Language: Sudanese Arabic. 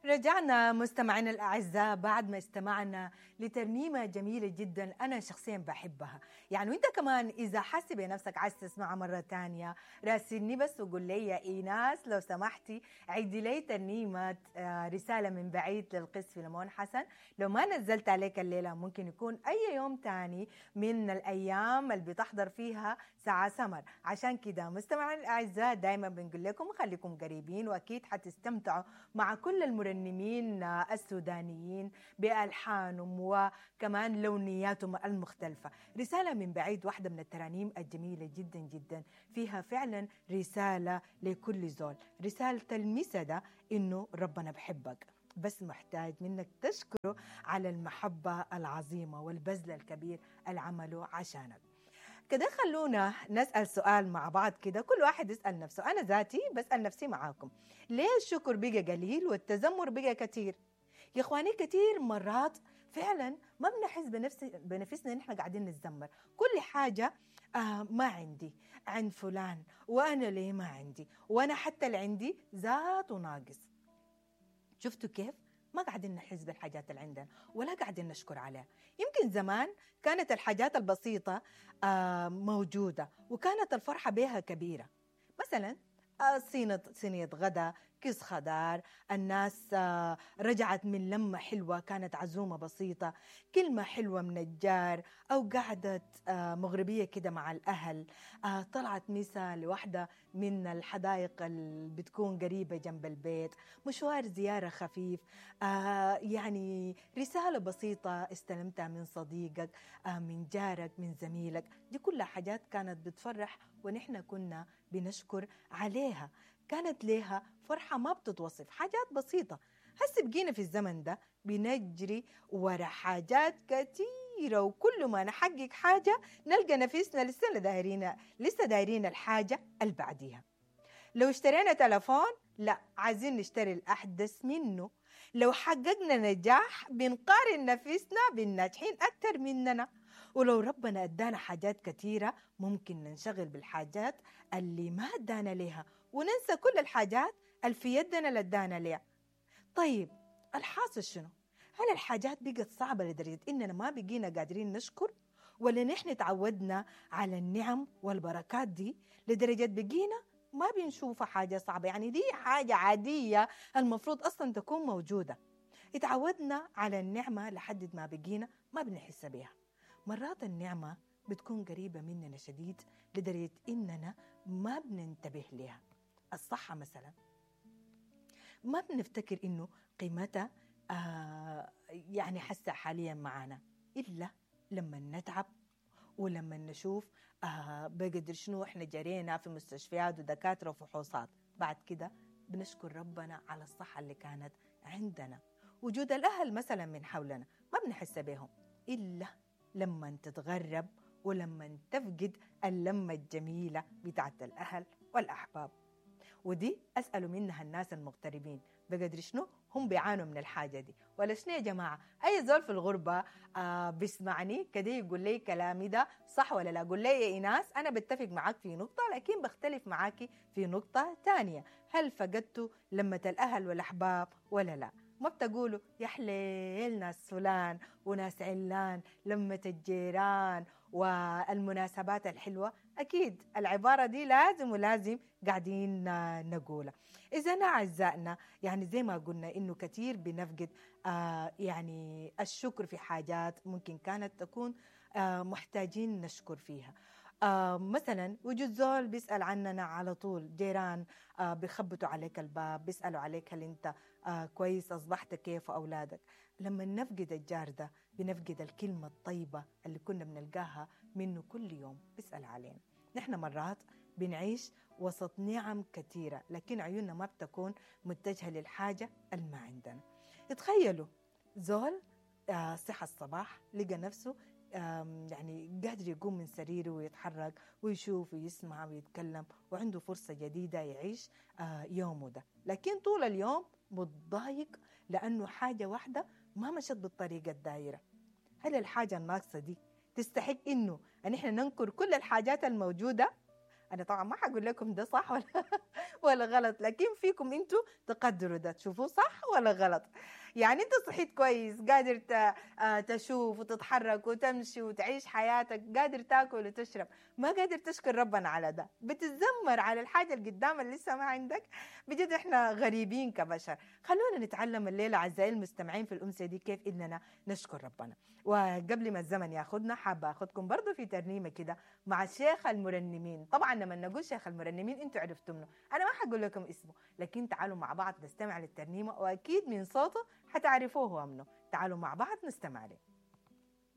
رجعنا مستمعينا الأعزاء بعد ما استمعنا لترنيمة جميلة جدا أنا شخصيا بحبها. يعني وانت كمان إذا حاسي بنفسك عايز تسمعها مرة تانية راسلني بس وقول لي يا إيناس لو سمحتي عيدي لي ترنيمة رسالة من بعيد للقس فيلمون حسن. لو ما نزلت عليك الليلة ممكن يكون أي يوم تاني من الأيام اللي بتحضر فيها ساعة سمر. عشان كده مستمعينا الأعزاء دايما بنقول لكم خليكم قريبين وأكيد حتستمتعوا مع كل المرنمين السودانيين بألحانهم وكمان لونياتهم المختلفة. رسالة من بعيد واحدة من الترانيم الجميلة جدا جدا، فيها فعلا رسالة لكل زول. رسالة المسا ده إنه ربنا بحبك، بس محتاج منك تشكره على المحبة العظيمة والبذل الكبير اللي عمله عشانك. كده خلونا نسأل سؤال مع بعض كده، كل واحد يسأل نفسه، أنا ذاتي بسأل نفسي معاكم، ليه الشكر بقى قليل والتذمر بقى كتير؟ يا إخواني كتير مرات فعلا ما بنحس بنفسنا إن إحنا قاعدين نتذمر، كل حاجة ما عندي، عند فلان، وأنا ليه ما عندي، وأنا حتى اللي عندي ذاته ناقص. شفتوا كيف؟ ما قاعدين نحس بالحاجات اللي عندنا ولا قاعدين نشكر عليها. يمكن زمان كانت الحاجات البسيطة موجودة وكانت الفرحة بها كبيرة. مثلا صينية غدا، كيس خضار، الناس رجعت من لمة حلوة كانت عزومة بسيطة، كلمة حلوة من الجار، أو قعدت مغربية كده مع الأهل، طلعت مسا لوحدة من الحدائق اللي بتكون قريبة جنب البيت، مشوار زيارة خفيف، يعني رسالة بسيطة استلمتها من صديقك، من جارك، من زميلك. دي كلها حاجات كانت بتفرح ونحن كنا بنشكر عليها، كانت ليها فرحة ما بتتوصف، حاجات بسيطة. هسه بقينا في الزمن ده بنجري ورا حاجات كتيرة، وكل ما نحقق حاجة نلقى نفسنا لسه دايرين الحاجة اللي بعديها. لو اشترينا تلفون لا عايزين نشتري الأحدث منه، لو حققنا نجاح بنقارن نفسنا بالناجحين أكتر مننا، ولو ربنا أدانا حاجات كتيرة ممكن ننشغل بالحاجات اللي ما أدانا ليها وننسى كل الحاجات اللي في يدنا اللي أدانا ليها. طيب الحاصل شنو؟ هل الحاجات بقت صعبة لدرجة إننا ما بقينا قادرين نشكر؟ ولا نحن تعودنا على النعم والبركات دي لدرجة بقينا ما بنشوفها حاجة صعبة؟ يعني دي حاجة عادية المفروض أصلا تكون موجودة. اتعودنا على النعمة لحد ما بقينا ما بنحس بيها. مرات النعمة بتكون قريبة مننا شديد لدرجة إننا ما بننتبه لها. الصحة مثلا ما بنفتكر إنه قيمتها يعني حاسة حاليا معانا إلا لما نتعب ولما نشوف بقدر شنو إحنا جرينا في مستشفيات ودكاترة وفحوصات. بعد كده بنشكر ربنا على الصحة اللي كانت عندنا. وجود الأهل مثلا من حولنا ما بنحس بهم إلا لما تتغرب ولما تفقد اللمة الجميلة بتاعت الأهل والأحباب. ودي أسألوا منها الناس المغتربين بقدر شنو هم بيعانوا من الحاجة دي ولا شنو يا جماعة؟ أي زول في الغربة بيسمعني كده يقول لي كلامي ده صح ولا لا؟ قول لي يا إيناس أنا بتفق معاك في نقطة لكن بختلف معاكي في نقطة تانية. هل فقدتوا لمة الأهل والأحباب ولا لا؟ ما بتقولوا يا حليل ناس فلان وناس علان، لمة الجيران والمناسبات الحلوة؟ أكيد العبارة دي لازم ولازم قاعدين نقولها. إذا أعزائنا يعني زي ما قلنا إنه كثير بنفقد يعني الشكر في حاجات ممكن كانت تكون محتاجين نشكر فيها. مثلا وجود زول بيسأل عننا على طول، جيران بيخبطوا عليك الباب، بيسألوا عليك هل أنت كويس، أصبحت كيف، أولادك. لما نفقد الجار ده بنفقد الكلمة الطيبة اللي كنا بنلقاها منه كل يوم بيسأل علينا. نحن مرات بنعيش وسط نعم كثيرة لكن عيوننا ما بتكون متجهة للحاجة اللي ما عندنا. تخيلوا زول صحى الصباح لقى نفسه يعني قادر يقوم من سريره ويتحرك ويشوف ويسمع ويتكلم وعنده فرصة جديدة يعيش يومه ده، لكن طول اليوم متضايق لأنه حاجة واحدة ما مشت بالطريقة الدائرة. هل الحاجة الناقصة دي تستحق إنه أن إحنا ننكر كل الحاجات الموجودة؟ أنا طبعا ما حقول لكم ده صح ولا غلط، لكن فيكم انتوا تقدروا ده تشوفوه صح ولا غلط. يعني انت صحيت كويس، قادر تشوف وتتحرك وتمشي وتعيش حياتك، قادر تاكل وتشرب، ما قادر تشكر ربنا على ده، بتتذمر على الحاجة اللي قدام اللي لسه ما عندك. بجد احنا غريبين كبشر. خلونا نتعلم الليلة أعزائي المستمعين في الأمسية دي كيف إننا نشكر ربنا. وقبل ما الزمن ياخدنا حابة أخدكم برضو في ترنيمة كده مع شيخ المرنمين. طبعا لما نقول شيخ المرنمين انتوا عرفتوا منه، أنا ما حقول لكم اسمه، لكن تعالوا مع بعض نستمع للترنيمة وأكيد من صوته حتعرفوه هو منه. تعالوا مع بعض نستمع له.